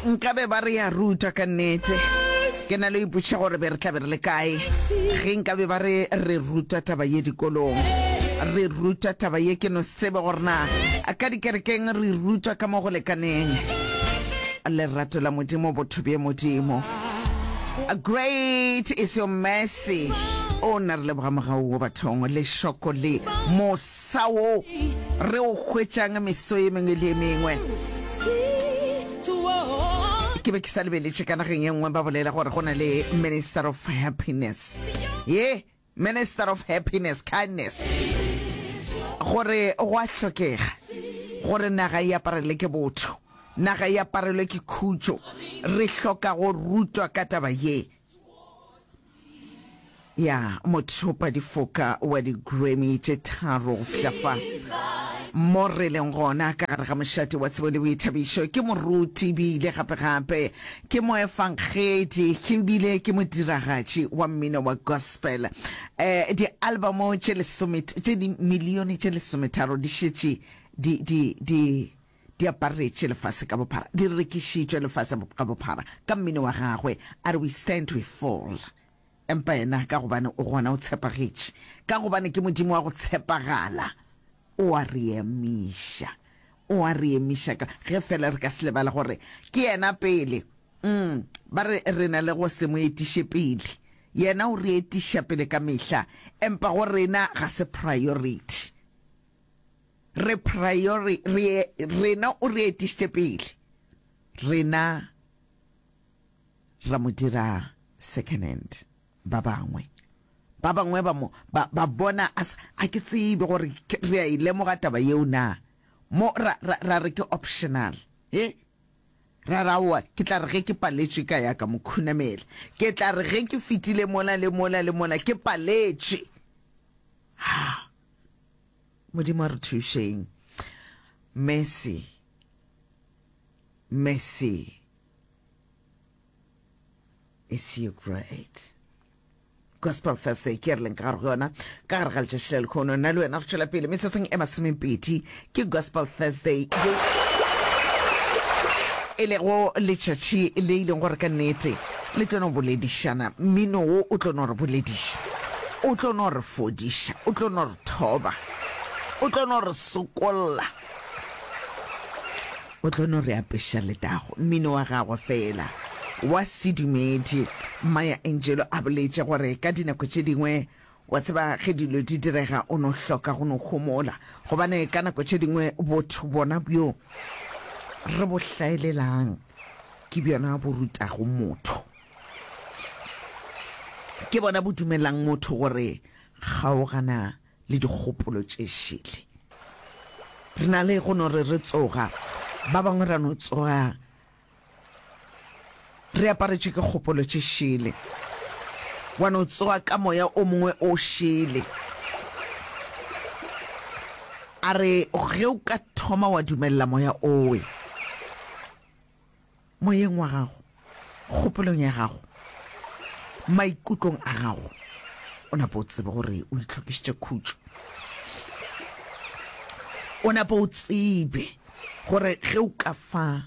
Nkabe ba re ya rutwa ka nnete. Ke na le ipotšiša gore be re tla be re le kae ge nkabe ba re re rutwa taba ye dikolong. Re rutwa taba ye, ke no se tsebe gore na ka dikerekeng re rutwa ka mo go lekaneng. Lerato la Modimo, botho bja Modimo. Great is your mercy. O nna re leboga mogau wo bathong, lešoko le mosa wo re o hwetšang meso ye mengwe le ye mengwe. Ke be ke sa lebeletše ka nageng ye nngwe ba bolela gore go na le Minister of Happiness. Ye, Minister of Happiness, Kindness. Gore go a hlokega gore naga e aparelwe ke botho, naga e aparelwe ke khutšo. Re hloka go rutwa ka taba ye. Ya mothopadifoka wa di-Grammy tše tharo go fihla fa mo re leng gona ka gare ga mošate wa tsebo le boithabišo. Ke moruti bile gape-gape ke moefangedi ke bile ke modiragatši wa mmino wa gospel. Eh, di-albamo tše lesome tše dimilione tše lesometharo di šetše di di di di aparetše lefase ka bophara, di rekišitšwe lefase ka bophara ka mmino wa gagwe. A re we stand we fall. Empa yena ka gobane o gona o tshepagetše, ka gobane ke Modimo wa go tshepagala, o a re emiša. O a re emiša ka ge fela re ka se lebale gore ke yena pele. Mm, ba re re na le go se mo etiše pele. Yena o re etiša pele ka mehla, empa go rena ga se priority. Re priori, re, rena o re etišitše pele. Rena ra mo dira second hand. Ba bangwe, ba bangwe ba mo, ba, ba bona a sa, a ke tsebe gore re a e lemoga taba yeo na. Mo ra, ra, ra re ke optional. He? Ra re aowa, ke tla re ge ke paletšwe ka ya ka mo khunamela. Ke tla re ge ke fetile mola le mola le mola ke paletšwe. Ha! Modimo a re thušeng. Mercy. Mercy. Is you great. Gospel Thursday ke re leng ka gare go yona ka gare ga letšatši la lekhono nna le wena re tšwela pele metsotsong e masomepedi ke Gospel Thursday ye e lego letšatši le e leng gore ka nnete le tlo no boledišana mmino wo o tlo no re bolediša o tlo no re fodiša o tlo no re thoba o tlo no re sokolla o tlo no re apeša letago mmino wa gagwe fela wa sedumedi Maya Angelou a boletše gore ka dinako tše dingwe Wa tseba, ge dilo di direga, o no hloka go no homola. Gobane ka nako tše dingwe botho bona bjo re bo hlaelelang ke bjona bo rutago motho. Ke bona bo dumelang motho gore kgaogana le dikgopolo tše šele. Re na le go no re re tsoga, ba bangwe ra no tsoga Re aparetšwe ke kgopolo tše šele. Wa no tsoga ka moya o mongwe o šele. A re ge o ka thoma wa dumelela moya owe moyeng wa gago, kgopolong ya gago, maikutlong a gago, o napa o tsebe gore o itlhokišitše khutšo. O napa o tsebe gore ge o ka fa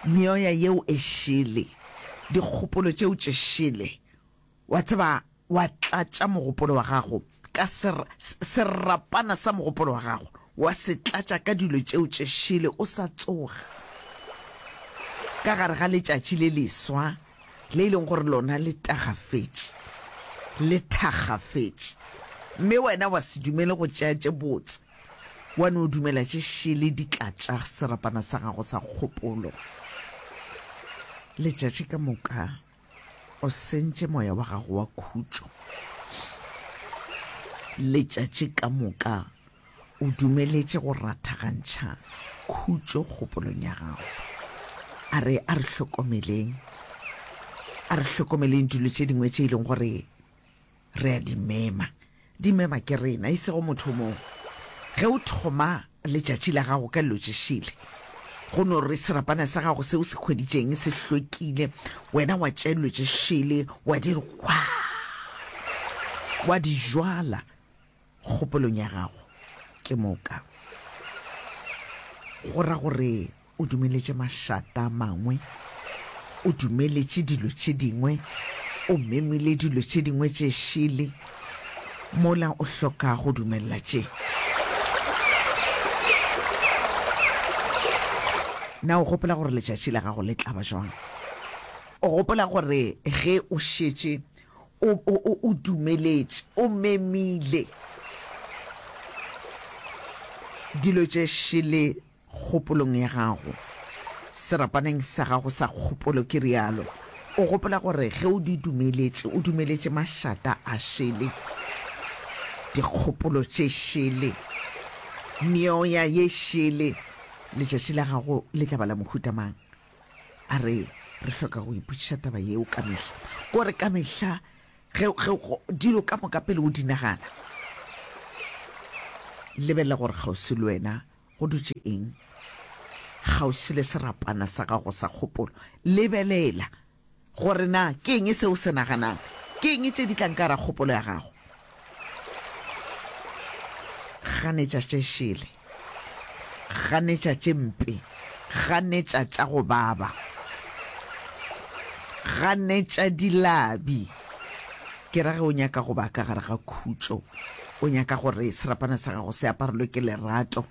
meoya yeo e šele, dikgopolo tšeo tše šele, wa tseba, wa tlatša mogopolo wa gago ka ser, serapana sa mogopolo wa gago, wa se tlatša ka dilo tšeo tše šele o sa tsoga ka gare ga letšatši le leswa le e leng gore lona le tagafetše, le thakgafetše, mme wena wa se dumele go tšea tše botse. Wa no dumela tše šele di tla tša serapana sa gago sa kgopolo. Letšatši ka moka o sentše moya wa gago wa khutšo. Letšatši ka moka o dumeletše go rathagantšha khutšo kgopolong ya gago. A re, a re hlokomeleng, a re hlokomeleng dilo tše dingwe tše e leng gore Re a di mema. Di mema ke rena, e sego motho mongwe. Ge o thoma letšatši la gago ka dilo tše šele, go no re serapana sa gago se o se hweditšeng se hlwekile, wena wa tšea dilo tše šele wa di re hwaa, wa di jwala kgopolong ya gago, ke moka go ra gore. O dumeletše mašata a mangwe, o dumeletše dilo tše dingwe, o memile dilo tše dingwe tše šele, mola o hloka go dumelela tše. Na o gopola gore letšatši la gago le tla ba jwang? O gopola gore ge o šetše o, o, o, o dumeletše, o memile dilo tše šele kgopolong ya gago, serapaneng sa gago sa kgopolo, ke realo, o gopola gore ge o di dumeletše, o dumeletše mašata a šele, dikgopolo tše šele, meoya ye šele, letšatši la gago le tla ba la mohuta mang? A re, re hloka go ipotšiša taba yeo ka mehla. Kore ka mehla ge, ge dilo ka moka pele o di nagana, lebelela gore kgauswi le wena go dutše eng, kgauswi le serapana sa gago sa kgopolo. Lebelela gore na ke eng se o se naganang, ke eng tše di tlang ka gara kgopolo ya gago. Ganetša tše šele, ganetša tše mpe, ganetša tša go baba, ganetša dilabi. Ke ra ge o nyaka go ba ka gare ga khutšo, o nyaka gore serapana sa gago se aparelwe ke lerato,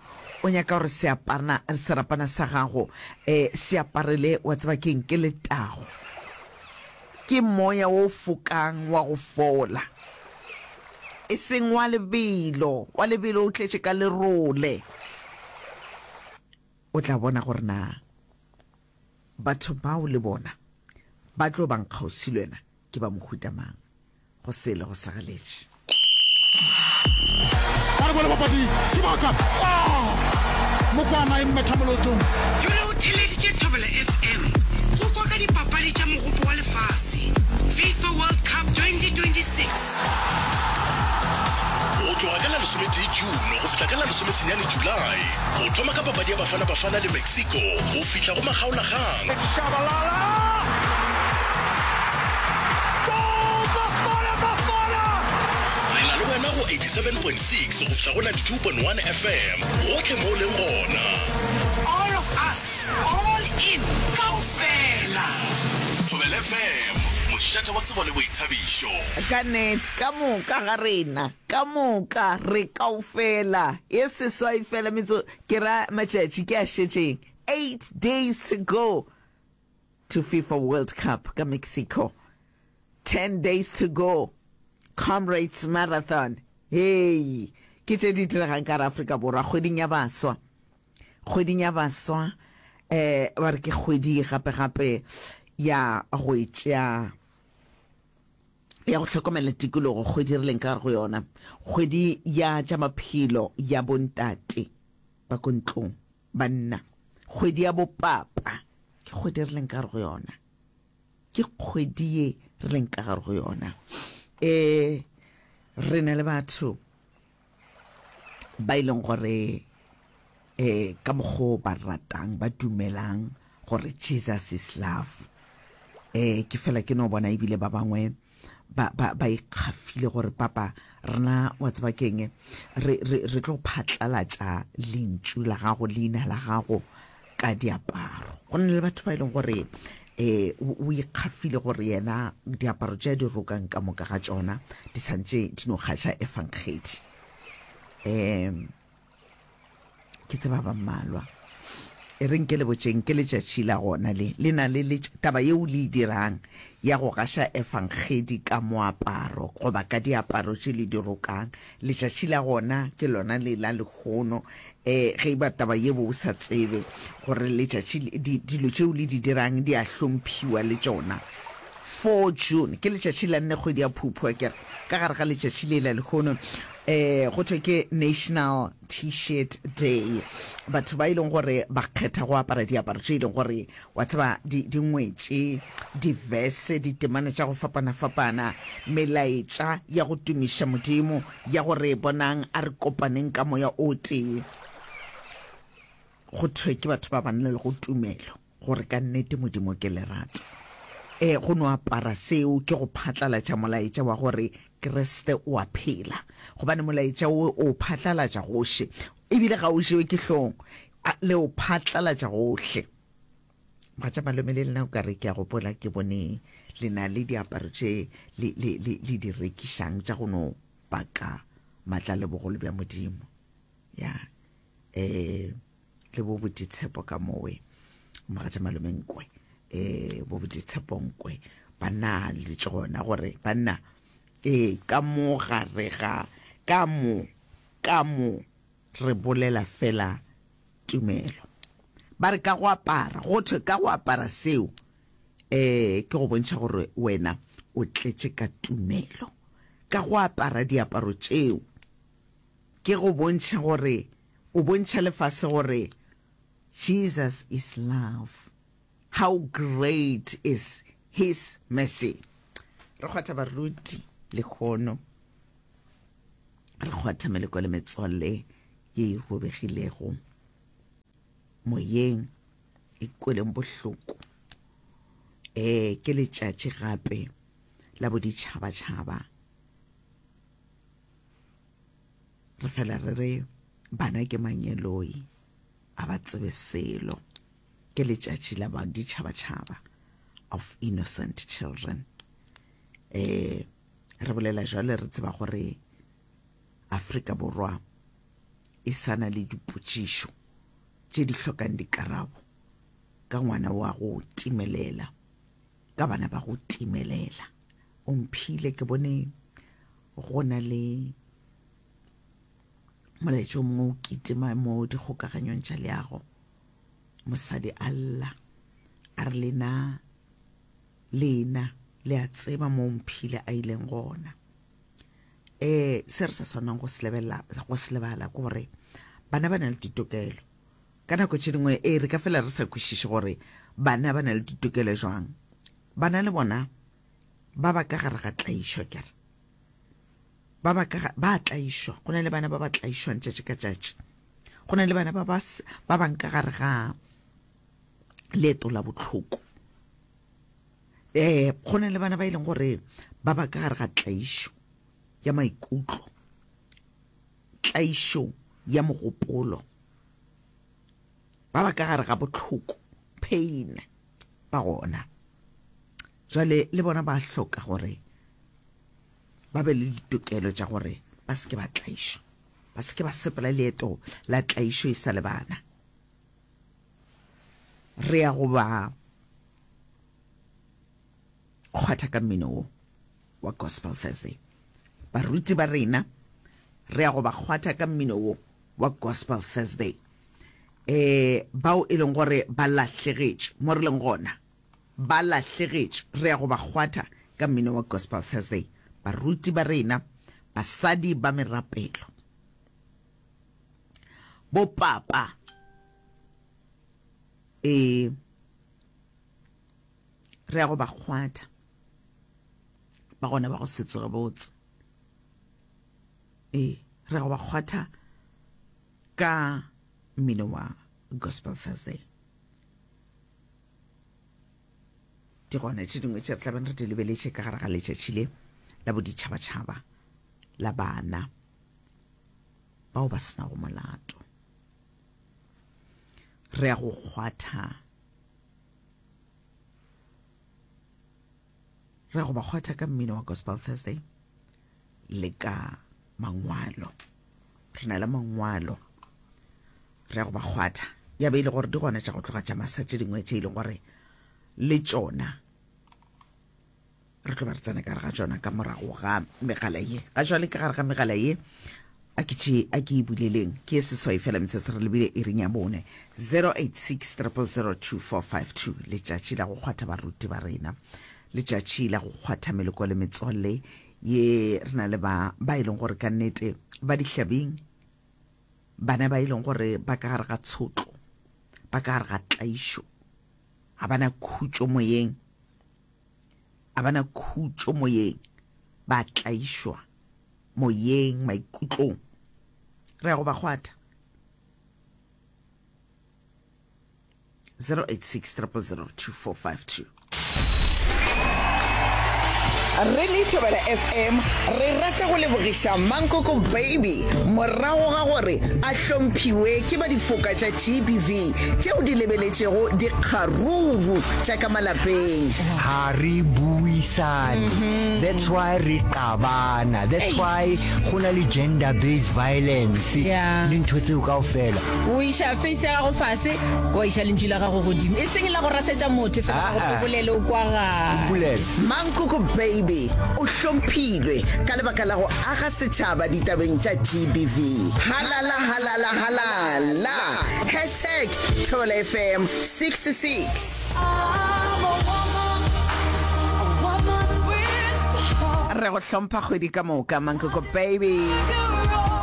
o nyaka gore seapana, serapana sa gago um se aparele, wa tseba ke'ng, ke letago. Ke moya wo fokang wa go fola, e seng wa lebelo, wa lebelo o tletše ka lerole. O tla bona gore na batho bao le bona ba tlo bang kgauswi le wena ke ba mohuta mang. Go sele go segeletše. Ba re bone bapadi sebaka. Ah! Mokwana e mmetha molotong. Dula o theeleditše Thobela FM go kwa ka dipapadi tša Mogopo wa Lefase, FIFA World Cup 2026. Go tloga ka la lesometee June go fihla ka la lesomesenyane July, go thoma ka papadi ya Bafana Bafana le Mexico go fihla go makgaolakgang. Shabalala! Goal! Bafana Bafana! Re na le wena go 87.6 go fihla go 92.1 FM, gohle mo o leng gona. All of us, all in, kaofela. Thobela FM, mošate wa tsebo le boithabišo. Ka nnete, ka moka ga rena, ka moka re kaofela, ye seswai fela metso, ke ra matšatši ke a šetšeng, 8 days to go to FIFA World Cup ka Mexico, 10 days to go Comrades Marathon, hei, ke tše di diregang ka gare Afrika Borwa kgweding ya baswa, kgweding ya baswa, eh, ba re ke kgwedi gape gape ya go e tšea ya go hlokomela tikologo, kgwedi re leng ka gare go yona, kgwedi ya tša maphelo ya bontate ba ko ntlong. Banna, kgwedi ya bopapa ke kgwedi re leng ka gare go yona. Ke kgwedi ye re leng ka gare go yona. E, re na le batho ba e leng gore e ka mokgo ba ratang ba dumelang gore Jesus is love. E, ke fela ke no bona ebile ba bangwe ba, ba, ba ikgafile gore papa rena wa tseba keng re, re, re tlo phatlalatša lentšu la gago leina la gago ka diaparo go na le batho ba e leng gore um o ikgafile gore yena diaparo tše a di rokang ka moka ga tšona di santše di no gaša efangedi um Ke tseba ba mmalwa. E reng ke le botšeng, ke letšatši la gona le. Le na le letš-, taba yeo le e dirang ya go gaša Efangedi ka moaparo goba ka diaparo tše le di rokang. Letšatši la gona ke lona le la lehono. E, ge e ba taba ye bo o sa tsebe gore letšatši, di, dilo tšeo le di dirang di a hlomphiwa le tšona. 4 June ke letšatši la nne kgwedi ya Phuphu, akere? Ka gare ga letšatši le la lehono, um go thwe ke National T-shirt Day. Batho ba e leng gore ba kgetha go apara diaparo tše e leng gore wa tseba di, di ngwetše di-verse, ditemana tša go fapana-fapana, melaetša ya go tumiša Modimo, ya gore bonang a re kopaneng ka moya o tee. Go thwe ke batho ba ba na le go tumelo. Gore ka nnete Modimo ke lerato. Ee, go no apara seo ke go phatlalatša molaetša wa gore Kriste o a phela. Gobane molaetša wo o o phatlalatša gohle, e bile ga o jewe ke hlong. A, le o phatlalatša gohle. Mogatša malome le lena o ka re ke a gopola ke bone le na le diaparo tše le, le, le, le di rekišang tša go no paka matla le bogolo bja Modimo. Ya, eh, le bo boditshepo ka mowe. Mogatša malome nkwe, eh, bo boditshepo nkwe. Banna le tšona gore banna, eh, ka mo gare ga, ka mo, ka mo Re bolela feela tumelo. Ba re ka go apara, go thwe ka go apara seo, eh, ke go bontšha gore wena o tletše ka tumelo. Ka go apara diaparo tšeo, ke go bontšha gore o bontšha lefase gore Jesus is love. How great is his mercy. Re kgwatha baruti lehono. Re kgwatha meleko le metswalle ye e robegilego moyeng, e kweleng bohloko. Eh, ke letšatši gape la boditšhabatšhaba. Re fela re re bana ke mangeloi, a ba tsebe selo. Ke letšatši la baditšhabatšhaba of innocent children. Eh, Re bolela jwale re tseba gore Afrika Borwa e sa na le dipotšišo tše di hlokang dikarabo ka ngwana wa go timelela, ka bana ba go timelela. O mphile ke bone go na le molaetša o mongwe o kitima mo dikgokaganyong tša leago. Mosadi a lla a re lena Lena le a tseba moo Mphile a ileng gona. E, se re sa swanang go se lebelela, go se lebala ke gore bana ba na le ditokelo. Ka nako tše dingwe, e, re ka fela re sa kwešiše gore bana ba na le ditokelo jwang. Bana le bona ba ba ka gare ga tlaišo, akere? Ba ba ka, ba tlaišwa. Go na le bana ba ba tlaišwang tšatši ka tšatši. Go na le bana ba ba, ba bang ka gare ga leeto la bohloko. Eh, go na le bana ba e leng gore ba ba ka gare ga tlaišo ya maikutlo, tlaišo ya mogopolo, ba ba ka gare ga bohloko, pain, ba gona. Jwale le bona ba hloka gore ba be le ditokelo tša gore ba se ke ba tlaišwa, ba se ke ba sepela leeto la tlaišo e sa le bana. Re ya go ba kgwatha ka mmino wo wa Gospel Thursday. Baruti ba rena re ya go ba kgwatha ka mmino wo wa Gospel Thursday. Eh, bao e leng gore ba lahlegetšwe mo re leng gona, ba lahlegetšwe, re ya go ba kgwatha ka mmino wa Gospel Thursday. Baruti ba rena, basadi ba merapelo, bopapa, ee, re ya go ba kgwatha, ba gona ba go se tsoge botse. Ee, re ya go ba kgwatha ka mmino wa Gospel Thursday. Di gona tše dingwe tše re tlabeng re di lebeletše ka gare ga letšatši le la boditšhabatšhaba la bana bao ba senago molato. Re ya go kgwatha, re ya go ba kgwatha ka mmino wa Gospel Thursday le ka mangwalo. Re na le mangwalo, re ya go ba kgwatha. Ya be e le gore di gona tša go tloga tša masa tše dingwe tše e leng gore le tšona Re tlo ba re tsena ka gare ga tšona ka morago ga megala ye. Ga jwale ka gare ga megala ye a ke tše a ke e buleleng ke ye seswai fela metsotso re lebile iring ya bone 086 0002452 letšatši la go kgwatha baruti ba rena letšatši la go kgwatha meloko le metswalle ye re na le ba ba e leng gore ka nnete ba dihlabing bana ba e leng gore ba ka gare ga tshotlo ba ka gare ga tlaišo ga bana khutšo moyeng A ba na khutšo moyeng, ba tlaišwa moyeng, maikutlong. Re ya go ba kgwatha. 086 000 2452. Re le Thobela FM re rata go lebogiša Mankoko Baby morago ga gore a hlomphiwe ke ba difoka tša GBV tšeo di lebeletšego dikgaruru tša ka malapeng. Ga re buisane, that's why re qabana, that's why go na le gender based violence le ntho tseo kaofela. O iša face ya gago fase, wa iša lentšu la gago godimo. E seng la go rasetša motho, fela la gore o bolele o kwagale. Mankoko Baby o hlomphilwe ka lebaka la go aga setšhaba ditabeng tša GBV. Halala halala halala! Hashtag ThobelaFM 66. Re go hlompha kgwedi ka moka, Mankoko Baby.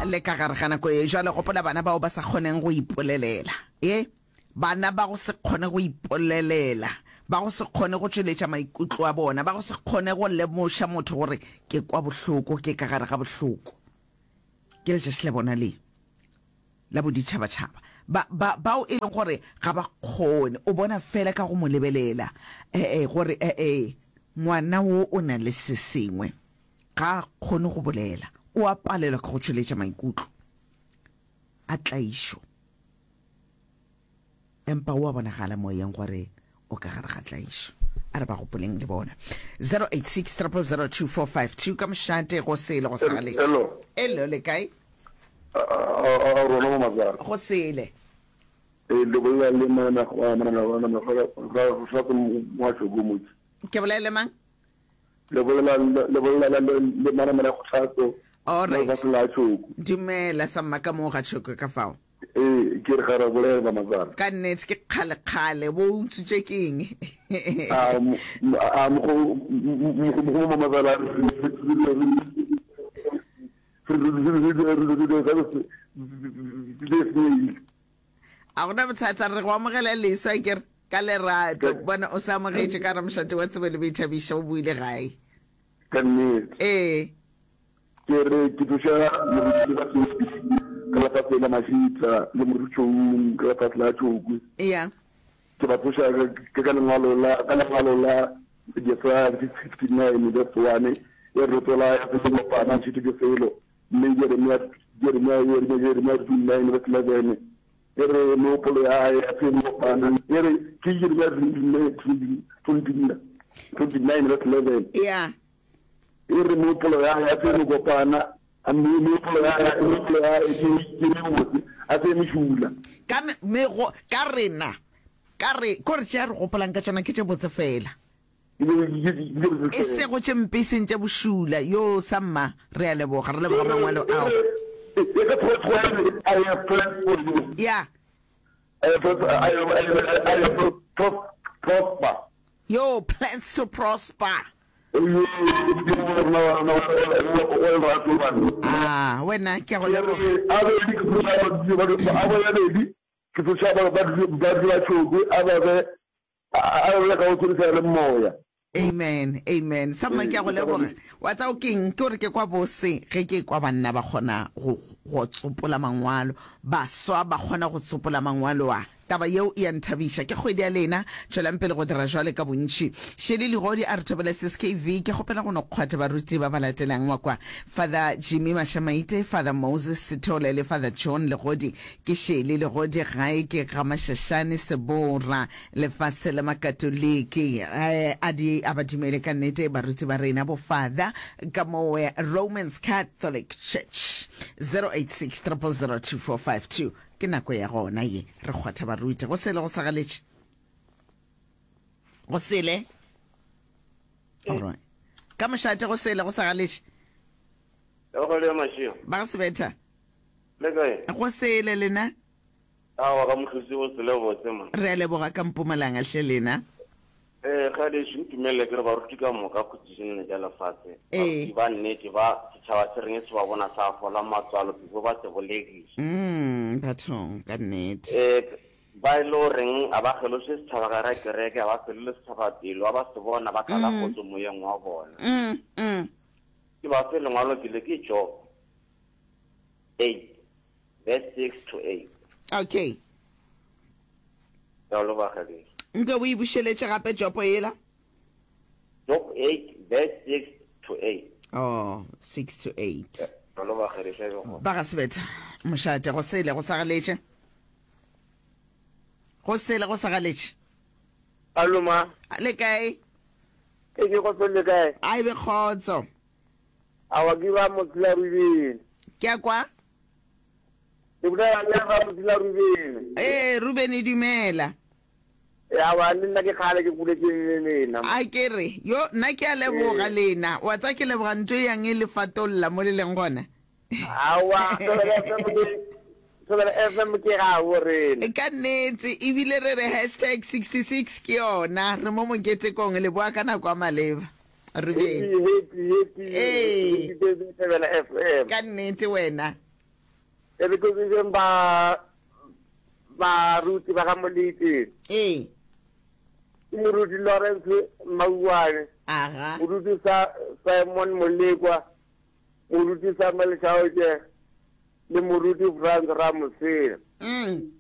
Le ka gare ga nako ye jwale, gopola bana bao ba sa kgoneng go ipolelela. Ye, bana ba go se kgone go ipolelela, ba go se kgone go tšweletša maikutlo a bona, ba go se kgone go lemoša motho gore ke kwa bohloko, ke ka gare ga bohloko. Ke letšatši la bona le. la boditšhabatšhaba, ba, ba, bao e leng gore ga ba kgone, o bona feela ka go mo lebelela, ee, gore, ee, ngwana wo o na le se sengwe, ga a kgone go bolela, o a palelwa ke go tšweletša maikutlo a tlaišo. Empa o a bonagala moyeng gore o ka gare ga tlaišo. A re ba gopoleng le bona. 086 000 2452 ka mošate go sele go sa galetše. Hello. Hello, le kae? A a rona mo matsala. Go sele. Ee, le bolela le manana manana manana ga ga mo Tšhoko motse. Ke bolela le mang? Le bolela le bolela le le manana go tlhatso. All right. Mo la Tšhoko. Dumela sa mma ka mo ga Tšhoko ka fao. Ee, ke re ga ra bolela matsala. Ka nnete ke kgale kgale bo utswitše ke eng? A a mogo mogo matsala A gona bothata re go amogela leswa ke re ka lerato bona o sa amogetše ka ramošate wa tsebo le boithabišo o buile gae. Ka nnete. Ee. Ke re ke tloša moruti ba ka lefase la Mashitla le moruti Choung ka lefase la Chokwe. Yeah. Ke ba tloša ka ka lengwalo la ka lengwalo la Jesaya 59 verse 1 e re tsola ya se kopana tšhito ke selo mme Jeremia Jeremia Jeremia Jeremia 29 verse 11 e re mehopolo ya hae ya se kopana e re ke Jeremia 29 29 verse 11 Yeah. E re mehopolo ya hae a se mekopana, a mme mehopolo ya hae, mehopolo ya hae ke, ke mebotse, a se mešula. Ka me, mego, ka rena, ka re, ko re tše a re gopolang ka tšona ke tše botse feela. Ke tše, ke, ke tše botse E feela. sego tše mpe, e seng tše bošula. Yoo, samma, re a leboga, re leboga mangwalo ao. E re, e ka tshwara, I have plans for you. Ya. I have, I have, I have, I have prosper. Yo, plans to prosper. Ah, wena ke a go leboga. Amen, amen. Samma ke a go leboga. Wa tseba o keng? Ke gore ke kwa bose ge ke kwa banna ba kgona go go tsopola mangwalo, baswa ba kgona go tsopola mangwalo a. Taba yeo e a nthabiša. Ke kgwedi ya lena. Tšwelang pele go dira jwale ka bontši. Shirley Ligodi a re thobela Sis KV. Ke kgopela go no kgwatha baruti ba ba latelang wa kwa, Father Jimmy Mashamaite, Father Moses Sithole le Father John Legodi. Ke Shirley Legodi gae ke GaMashashane Sebora, lefase la Makatoliki. A di a ba dumele ka nnete baruti ba rena bo Father ka mowe Romans Catholic Church. 086 000 2452. Ke nako ya gona ye re kgwatha baruti. Go sele go sa galetše. Go sele. All right. Ka mošate go sele go sa galetše. Ba go sebetha. Le kae? Go sele lena. Aowa ka mohlotsi go sele botse man. Re a leboga ka Mpumalanga hle lena. Ee, kgadešu, ntumelele ke re baruti ka moka khutšišenene tša lefase, baruti ba nnete ba setšhaba se reng se ba bona sa fola matswalo before ba se bolekiša. Mm, bathong, ka nnete. Ee, ba e le goreng ga ba kgeloše setšhaba gare ga kereke, ga ba felele setšhaba pelo, ga ba se bona ba tlala kgotso moyeng wa bona. Mm, mm. Ke ba fe lengwalo ke le ke Job 8 verse 6 to 8. Okay. Ke a leboga gešo. Nke o e bušeletše gape Jopo yela. Job 8 verse 6. to 8. Oh, 6 to 8. Jalo ba kgereša e be gona. Ba ga Sebetha, mošate, go sele go sa galetše. Go sele go sa galetše. Allo ma. Le kae? Ke ke kgotso le kae? A e be kgotso. Awa ke ba Mosela Rubeni. Ke a kwa. Ke bolela le ba Mosela Rubeni. Ee, Rubeni dumela. Awa le nna ke kgale ke boletše le lena. A ke re, yo nna ke a leboga lena. Wa tsa ke leboga ntho e yang e le fatolla mo le leng gona. Aowa, Thobela FM ke Thobela FM ke gabo rena. Ka nnete, ebile re re hashtag 66 ke yona. Re mo moketekong, le boa ka nako ya maleba. Ruben. Happy, happy, happy, Ee. happy birthday Thobela FM. Ka nnete wena. E re ke tsebeng ba baruti ba ga Molete. Ee. Ke moruti Lawrence Mauwane. Aga. Moruti sa Simon Molekwa. Moruti Samuel Shaoke le Moruti Frans Ramosela. Mm.